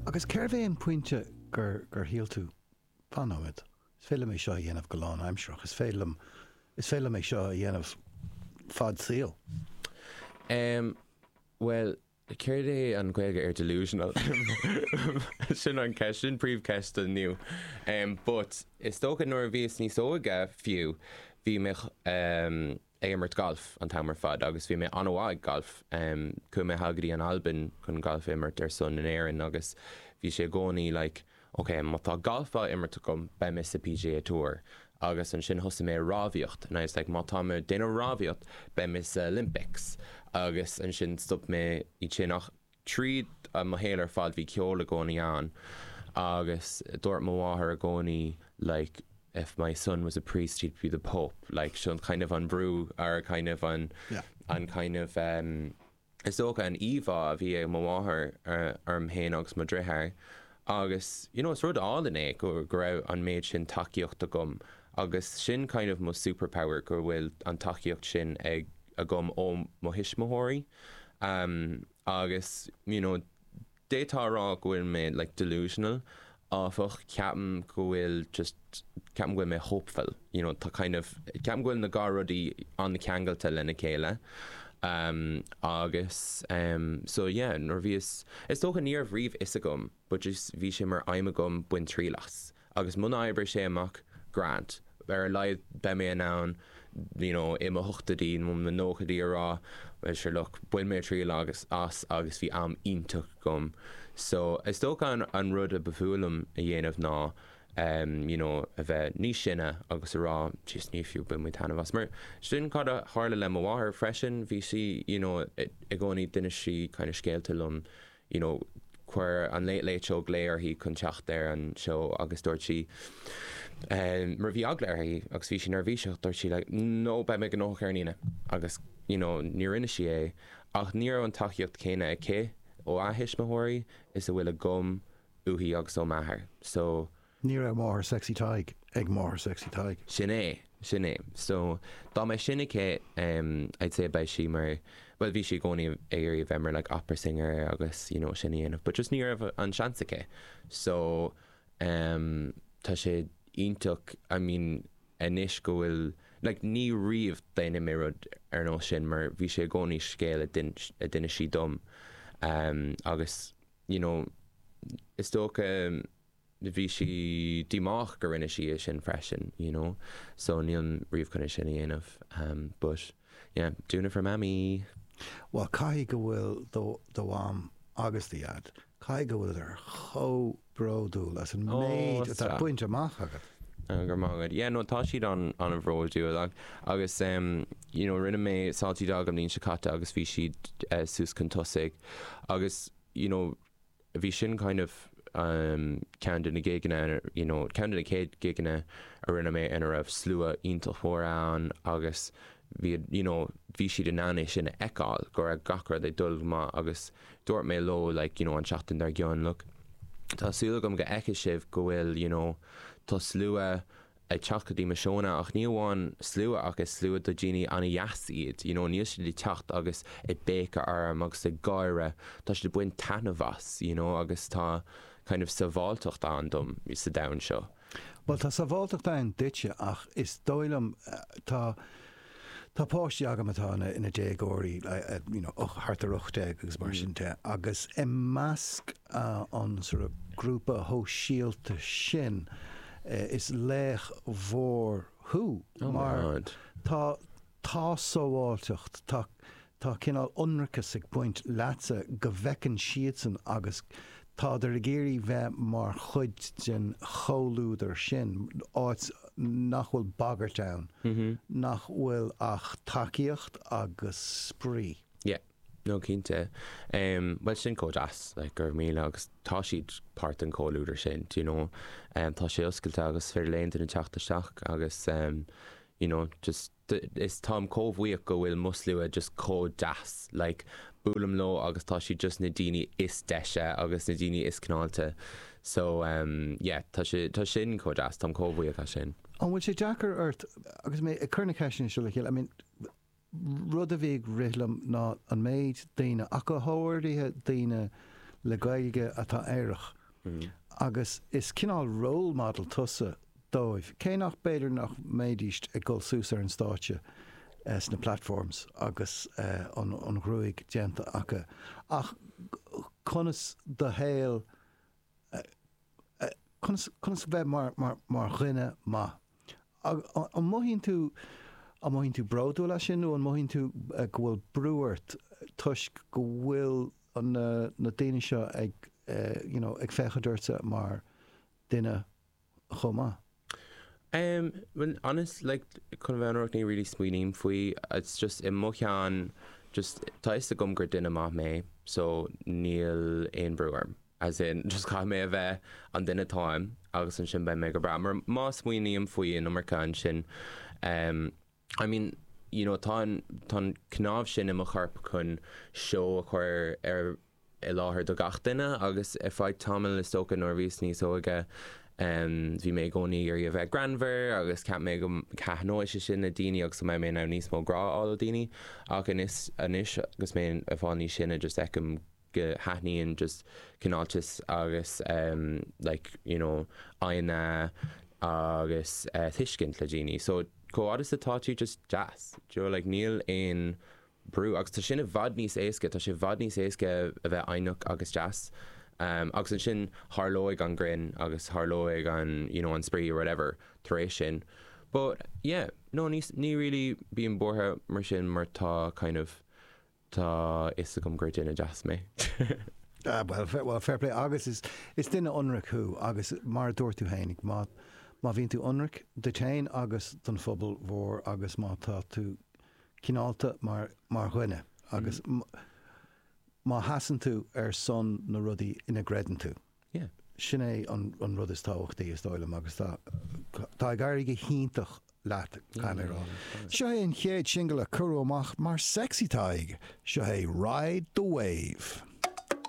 Agus cérbh é an pointe gur gur shíl tú, fan nóiméad, is féidir liom é seo a dhéanamh go lánaimsearach, is féidir liom, is féidir liom é seo a dhéanamh fad saoil? Em, bhuel, céard é an Ghaeilge ar delusional? Sin an ceist, sin príomhcheist inniu. Em, but is dócha nuair a bhíos níos óige fiú, bhí mé, em, ag imirt galf an t-am ar fad agus bhí mé an-mhaith ag galf. Chuaigh mé thall go dtí an Albain chun galf a imirt ar son in Éirinn agus bhí sé i gcónaí like ok má tá galf á imirt agam beidh mé sa PGA Tour agus ansin thosaigh mé ag rámhaíocht and I was like má tá mé ag déanamh rámhaíocht beidh mé sa Olympics agus ansin stop mé iad sin ach Tríd mo shaol ar fad bhí ceol i gcónaí ann agus dúirt mo mháthair i gcónaí like if my son was a priest he'd be the pope like sin kind of an brú or kind of an an kind of um is dócha an íomhá a bhí ag mo mháthair orm féin agus mo dhriotháir agus you know is rud álainn é go go raibh an méid sin tacaíocht agam agus sin kind of mo superpower go bhfuil an tacaíocht sin ag agam ó mo thuismitheoirí agus you know d'fhéadfá a rá go bhfuil mé like delusional áfach ceapaim go bhfuil just ceapaim go bhfuil mé hopeful you know tá kind of ceapaim go bhfuil na dhá rudaí an-cheangailte lena chéile agus so yeah nuair a bhíos is dócha ní raibh riamh fhios agam but just bhí sé mar aidhm agam bain triail as agus muna oibreoidh sé amach, grand. Ar a laghad beidh mé in ann you know i mo hochtóidí nó mo nóchaidí a rá well sure look bhain mé triail agus as agus bhí am iontach agam. So is dócha an an rud a ba fuath liom a dhéanamh ná um you know a bheith níos sine agus a rá jeez ní fiú bain mé taitneamh as mar sin cad a tharla le mo mháthair freisin bhí sí you know i gcónaí d'inis sí kind of scéalta liom you know chuir an Late Late Show glao uirthi chun teacht ar an seó agus dúirt sí eh mar bhí eagla uirthi agus bhí sí neirbhíseach dúirt sí like no beidh mé gnóthach ar an Aoine agus you know ní rinne sí é ach ní raibh an tacaíocht céanna aici ó a thuismitheoirí is a bhfuil agam uaithi agus ó m'athair so Ní raibh máthair Sexy Tadhg ag máthair Sexy Tadhg. Sin é, sin é. So, dá mbeadh sin aici, em, I'd say beidh sí mar, bhuel bhí sí i gcónaí ag iarraidh a bheith mar like opera singer agus you know sin a dhéanamh but just ní raibh an seans aici. So, em, tá sé iontach, I mean, anois go bhfuil, like ní riamh déanfaidh mé rud ar nós sin mar bhí sé i gcónaí scéal a d'inis sí dom, em, agus you know, is dócha, bhí sí díomách go rinne sí é sin freisin, you know, so nílim riamh chun é sin a dhéanamh but yeah, doing it for Mammy! Bhuel, caithfidh go bhfuil do do mham agus do dhaid, caithfidh go bhfuileadar chomh bródúil as an méid atá bainte amach agat. Go raibh maith agat. Yeah, no, tá siad an-an-bhródúil agus um, you know, rinne mé Salty Dog an bhliain seo caite agus bhí siad uh, suas chun tosaigh agus you know, bhí sin kind of ceann de na gigeanna, you know, ceann de na chéad gigeanna a rinne mé ina raibh slua iontach mór ann agus bhí, you know, bhí siad in ann é sin a fheiceáil, go raibh gach rud ag dul go maith agus dúirt mé leo like, you know, an tseachtain dár gcionn, look, tá súil agam go bhfeicfidh sibh go bhfuil, you know, tá slua ag teacht go dtí mo seónna ach ní amháin slua ach is slua de dhaoine an-dheas iad, you know, níl siad ag teacht agus ag béiceadh orm agus ag gáire, tá siad ag baint taitneamh as, you know, agus tá kind of sábháilteacht ann dom sa domhan seo. Bhuel, tá sábháilteacht ann duitse ach is dóigh liom, tá, tá páistí agam atá ina, ina déagóirí, you know, thart ar 18 agus mar sin de, agus i measc an sort of grúpa shóisialta sin, is laoch mhór thú mar tá, tá sábháilteacht, tá, Tá cineál ionracas ag baint leatsa go bhfeiceann siadsan agus tádar ag iarraidh bheith mar chuid den chomhluadar sin, áit nach bhfuil bagairt ann, nach bhfuil ach tacaíocht agus spraoi. Yeah, no cinnte. Bhuel sin chomh deas, like go raibh míle agus tá siad páirt den chomhluadar sin, do you know. Tá sé oscailte agus is féidir le aon duine teacht isteach agus you know, just is táim chomh bhuíoch go bhfuil mo slua just chomh deas like buailim leo agus tá siad just na daoine is deise agus na daoine is cineálta so um yeah tá sé tá sin chomh deas táim chomh bhuíoch as sin. An bhfuil sé deacair ort agus mé ag cur na ceisteanna seo le chéile I mean rud a bhí ag rith liom ná an méid daoine ach go háirithe daoine le Gaeilge atá aerach. agus is cineál role model tusa dóibh, cé nach b'fhéidir nach mbeidís ag dul suas ar an stáitse sna platforms agus an ghruaig déanta acu, ach conas do shaol, conas, conas bheith mar, mar, mar dhuine maith. An mothaíonn tú, an mothaíonn tú bródúil as sin nó an mothaíonn tú go bhfuil brú ort toisc go bhfuil na, na daoine seo ag, you know, ag féachaint ortsa mar duine chomh maith? Um, well, honest, like, chun bheith ionraic ní really smaoiním faoi, it's just i mo cheann, just tá fhios agam gur duine maith mé, so níl aon brú orm. As in, just caithfidh mé a bheith an duine atáim agus ansin beidh mé go breá. Mar má smaoiním faoi an iomarca ansin, um, I mean, you know, tá an, tá an cnámh sin i mo chorp chun seó a chur ar, i láthair do gach duine agus ar feadh tamaill is dócha nuair a bhíos níos óige bhí mé i gcónaí ag iarraidh a bheith greannmhar agus cheap mé go dtaitneodh sé sin le daoine agus go mbeidh mé in ann níos mó grá a fháil ó daoine ach anois, anois agus mé ag fáil níos sine just feicim go thaitníonn just cineáltas agus like you know foighne agus tuiscint le daoine so chomh fhad is atá tú just deas do you know like níl aon brú agus tá sin i bhfad níos éasca, tá sé i bhfad níos éasca a bheith foighneach agus deas agus ansin tharlóidh an greann agus tharlóidh an you know an spraoi or whatever tar éis sin but yeah no ní ní really bím buartha mar sin mar tá kind of tá fhios agam gur duine deas mé. Ah bhuel well fair play agus is is duine ionraic thú agus mar a dúirt tú fhéinig má má bhíonn tú ionraic duit fhéin agus don phobal mhór agus má tá tú cineálta mar mar dhuine agus má sheasann tú ar son na rudaí ina gcreideann tú. Yeah. Sin é an an rud is tábhachtaí is dóigh liom agus tá tá ag éirí go hiontach leat, caithfidh mé a rá. Seo é an chéad singil a cuireadh amach mar Sexy Tadhg. Seo é Ride the Wave.